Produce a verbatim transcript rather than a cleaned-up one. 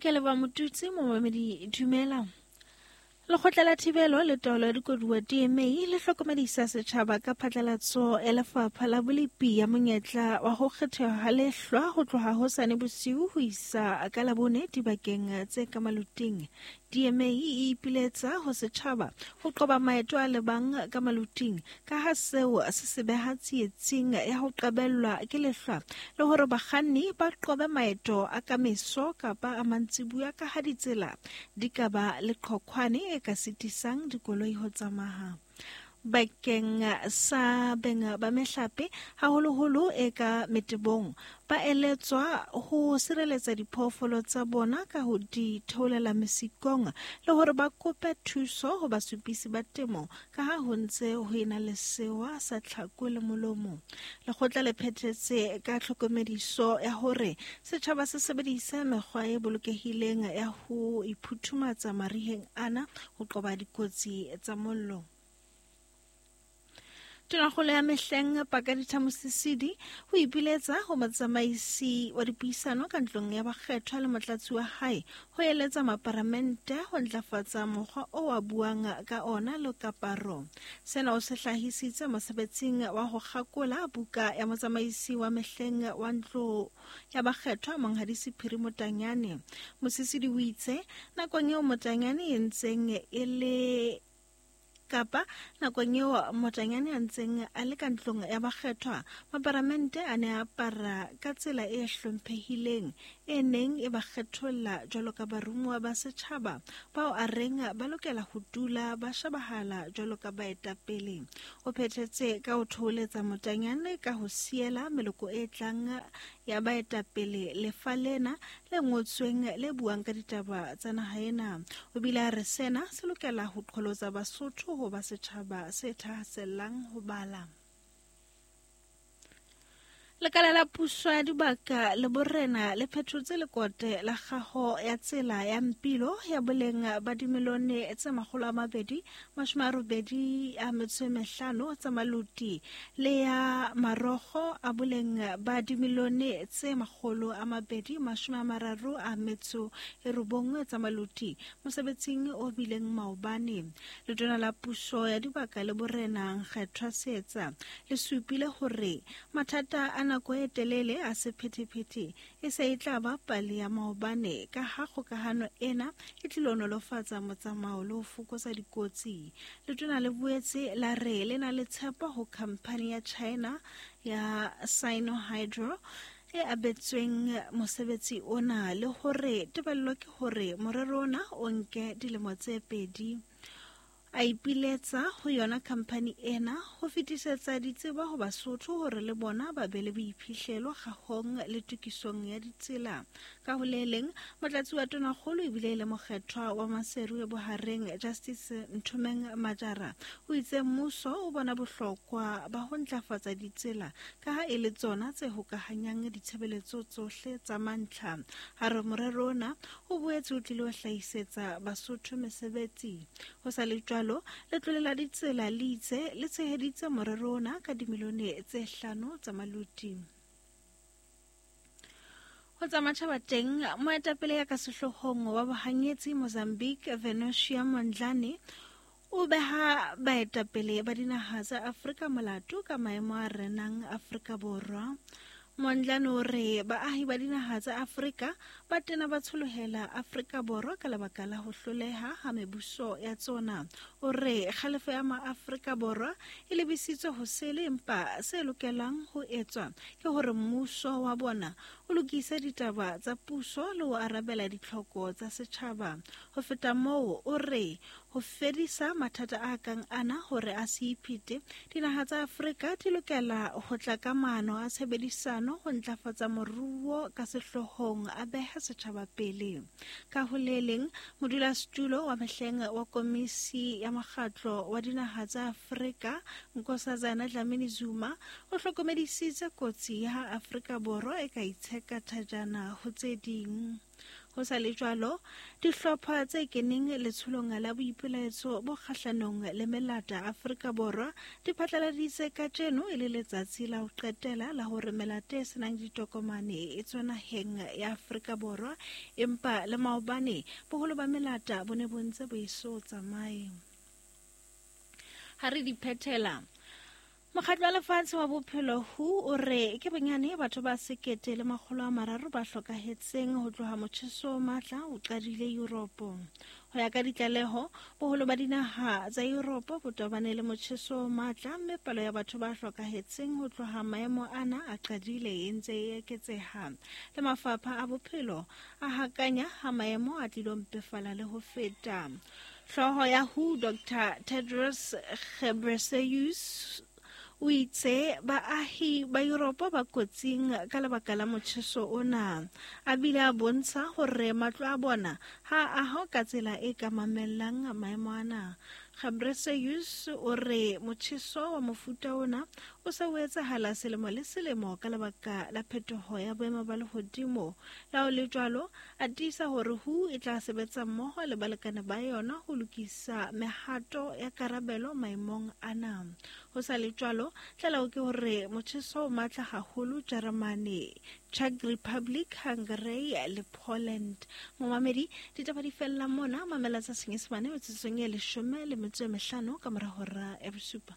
Ke leboha Motutsi, momamedi dumela. Lekgotla la Thibelo le Taolo ya Dikoduwa D M A le hlokomedisa setjhaba ka phatlalatso ya Lefapha la Bolepi ya monyetla wa ho kgethwa ha lehlwa ho tloha hosane bosiu ho isa ka Labone dibakeng tse ka maluting. D M A e ipiletsa ho setjhaba ho qoba maeto a lebang ka maluting ka ha seo se se beha tsietsing ya ho qabellwa ke lehlwa le hore bakganni ba qobe maeto a ka meso kapa a mantsibuya ka ha ditsela di ka ba le qhoqhwane e ka sitisang dikoloi ho tsamaya. Bakeng sa beng ba mehlape haholoholo e ka metebong ba eletswa ho sireletsa diphoofolo tsa bona ka ho di theolela mesikong le hore ba kope thuso ho basupisi ba temo ka ha ho ntse ho ena le sewa sa tlhako le molomo. Lekgotla le phethetse ka tlhokomediso ya hore setjhaba se sebedise mekgwa e bolokehileng ya ho iphuthumatsa mariheng ana ho qoba dikotsi tsa mollo. Tonakgolo ya mehleng Pakalitha Mosisili ho ipiletsa ho motsamaisi wa dipuisano ka ntlong ya bakgethwa le motlatsi wa hae ho eletsa maparamente ho ntlafatsa mokgwa o a buang ka ona le kaparo. Sena o se hlahisitse mosebetsing wa ho kgakola buka ya motsamaisi wa mehleng wa ntlo ya bakgethwa Monghadi Sephiri Motanyane. Mosisili o itse nakong eo Motanyane e ntseng e le kapa nakong eo Motanyane a ntseng a le ka ntlong ya bakgethwa, maparamente a ne a apara ka tsela e hlomphehileng e neng e ba kgetholla jwalo ka barumuwa ba setjhaba bao a reng ba lokela ho dula ba shebahala jwalo ka baetapele. O phethetse ka ho thoholetsa Motanyane ka ho siela meloko e tlang ya baetapele lefa lena le ngotsweng le buang ka ditaba tsa naha ena. O bile a re sena se lokela ho qholotsa Basotho ho ba setjhaba se thahasellang ho bala. Lekala la puso ya dibaka le borena le phethotse lekote la kgaho ya tsela ya Mpilo ya boleng ba dimilione tse makgolo a mabedi mashome a robedi a metso e mehlano tsa maluti le ya marokgo a boleng ba dimilione tse makgolo a mabedi mashome a mararo a metso e robong tsa maluti mosebetsing o bileng maobane. Letona la puso ya dibaka le borena Nkgethwa Seetsa le supile hore mathata a nako e telele a sephethephethe e se e tla ba pale ya maobane ka ha kgokahano ena e tlilo nolofatsa motsamao le ho fokotsa dikotsi. Letona le boetse la re le na le tshepo ho khamphani ya China ya Sinohydro e abetsweng mosebetsi ona le hore tebello ke hore morero ona o nke dilemo tse pedi. A ipiletsa ho yona khamphani ena ho fetisetsa ditsebo ho Basotho hore le bona ba be le boiphihlelo kgahong le tokisong ya ditsela. Ka ho le leng, motlatsi wa tonakgolo ebile e le mokgethwa wa Maseru e bohareng Justice Nthomeng Majara o itse mmuso o bona bohlokwa ba ho ntlafatsa ditsela ka ha e le tsona tse hokahanyang ditshebeletso tsohle tsa mantlha. Ha re morero ona o boetse o tlile ho hlahisetsa Basotho mesebetsi. Ho sa le jwalo, letlole la ditsela le itse le tsheheditse morero ona ka dimilione tse hlano tsa maluti. Ho tsa matjhaba teng, moetapele ya ka sehloohong wa bohanyetsi Mozambique Venancio Mondlane o beha baetapele ba dinaha tsa Afrika molato ka maemo a renang Afrika Borwa. Mondlane o re baahi ba dinaha tsa Afrika ba tena ba tsholohela Afrika Borwa ka lebaka la ho hloleha ha mebuso ya tsona. O re kgalefo ya maAfrika Borwa e lebisitswe ho sele, empa se lokelang ho etswa ke hore mmuso wa bona o lokise ditaba tsa puso le ho arabela ditlhoko tsa setjhaba. Ho feta moo, o re ho fedisa mathata a kang ana hore a se iphete, dinaha tsa Afrika di lokela ho tla ka maano a tshebedisano ho ntlafatsa moruo ka sehloohong a beha setjhaba pele. Ka ho le leng, modulasetulo wa mehleng wa komisi ya mokgatlo wa dinaha tsa Afrika Nkosazana Dlamini Zuma o hlokomedisitse kotsi ya ha Afrika Borwa e ka itsheka thajana ho tse ding. Ho sa le jwalo, dihlopha tse keneng letsholong la boipelaetso bo kgahlanong le melata Afrika Borwa di phatlaladitse kajeno e le letsatsi la ho qetela la hore melata e senang ditokomane e tswe naheng ya Afrika Borwa, empa le maobane boholo ba melata bo ne bo ntse bo eso tsamaye. Ha re di phethela, Mokgatlo wa Lefatshe wa Bophelo W H O o re ke bonyane batho ba sekete le makgolo a mararo ba hlokahetseng ho tloha motjheso o matla o qadile Europe. Ho ya ka ditlaleho, boholo ba dinaha tsa Europe bo tobane le motjheso o matla, mme palo ya batho ba hlokahetseng ho tloha maemo ana a qadile e ntse e eketseha. Le mafapha a bophelo a hakanya ha maemo a tlilo mpefala le ho feta. Hlooho ya W H O Doctor Tedros Ghebreyesus o itse baahi ba Europe ba kotsing ka lebaka la motjheso ona. A bile a bontsha hore matlo a bona ha a ahwa ka tsela e ka mamellang maemo ana. Ghebreyesus o re motjheso wa mofuta ona o se o etsahala selemo le selemo ka lebaka la phetoho ya boemo ba lehodimo. Le ha ho le jwalo, a tiisa hore W H O e tla sebetsa mmoho le balekane ba yona ho lokisa mehato ya karabelo maemong ana. Ho sa le jwalo, tlaleho ke hore motjheso o matla haholo Jeremane, Czech Republic, Hungary le Poland. Momamedi, ditaba di fella mona, mamela tsa Senyesemane metsotsong e leshome le metso e mehlano ka mora hora ya bosupa.